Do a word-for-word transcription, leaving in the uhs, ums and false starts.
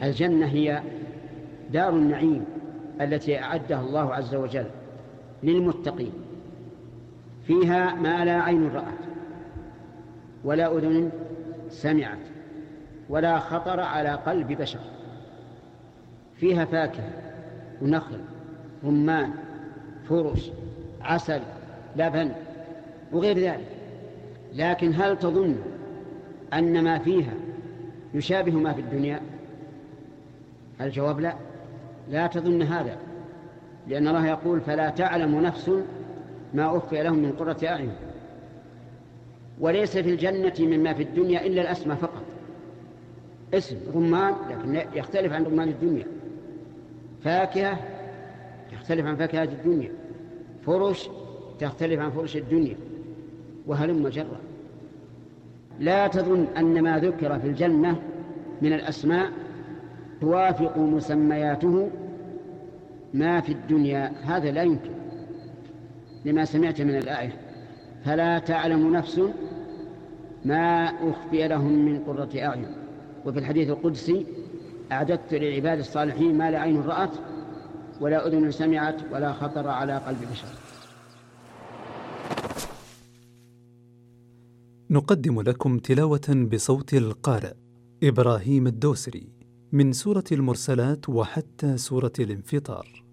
الجنة هي دار النعيم التي أعدها الله عز وجل للمتقين، فيها ما لا عين رأت ولا أذن سمعت ولا خطر على قلب بشر. فيها فاكهة ونخل رمان فرش عسل لبن وغير ذلك. لكن هل تظن أن ما فيها يشابه ما في الدنيا؟ الجواب لا، لا تظن هذا، لأن الله يقول فلا تعلم نفس ما أخفي لهم من قرة أعين. وليس في الجنة مما في الدنيا إلا الأسماء فقط، اسم رمان لكن يختلف عن رمان الدنيا، فاكهة تختلف عن فاكهة الدنيا، فرش تختلف عن فرش الدنيا، وهلم جرا. لا تظن أن ما ذكر في الجنة من الأسماء توافق مسمياته ما في الدنيا، هذا لا يمكن، لما سمعت من الآية فلا تعلم نفس ما أخفي لهم من قرة أعين. وفي الحديث القدسي أعددت للعباد الصالحين ما لا عين رأت ولا أذن سمعت ولا خطر على قلب بشر. نقدم لكم تلاوة بصوت القارئ إبراهيم الدوسري من سورة المرسلات وحتى سورة الانفطار.